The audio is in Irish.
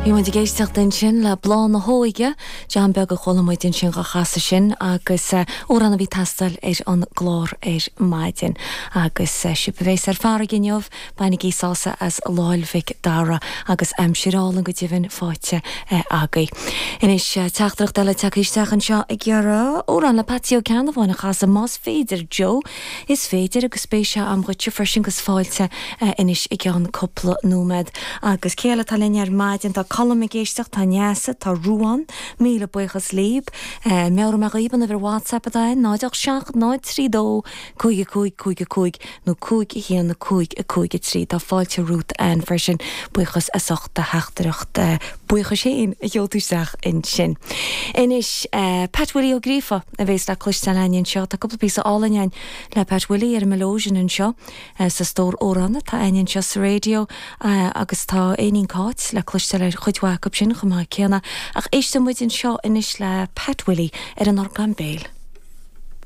Bhí muid ag éisteacht ansin le Bláth na hÓige, John Beag a chuala muid ansin dhá chasadh sin agus amhrán a bhí ag teastáil ar an gclár ar maidin. Agus sibh a bhéas ar farraige inniu, bainigí sásamh as Lá'l Mhic Dara agus aimsir álainn go deimhin faighte agaibh. Anois, teachtaireacht eile tagtha isteach anseo ag iarraidh amhrán le Patsy Ó Ceannabháin a chasadh más féidir, Joe. Is féidir agus beidh sé a'm dhuitse freisin agus fáilte anois i gceann cúpla nóiméad. Agus cé eile atá linn ar maidin? Tá Colm ag éisteacht, tá Neasa, tá Ruán, míle buíochas libh. Meabhróidh mé dhaoibh an uimhir WhatsApp atá a'inn, 0 8 7 0 3 2 5 5 5 5 nó 5 1 5 5 3. Tá fáilte romhat Ann freisin, buíochas as ucht do theachtaireacht buíochais féin a sheol tú isteach ansin. Anois, Pat Willie Ó Gríofa a bhéas le cloisteáil a'inn anseo. Tá cúpla píosa álainn a'inn le Pat Willie ar an melodeon anseo sa stór amhrán atá a'inn anseo sa raidió agus tá Éinín Cáit le cloisteáil ar chuid mhaith acu sin chomh maith céanna. Ach éisteann muid anseo anois le Pat Willie ar an orgán béil.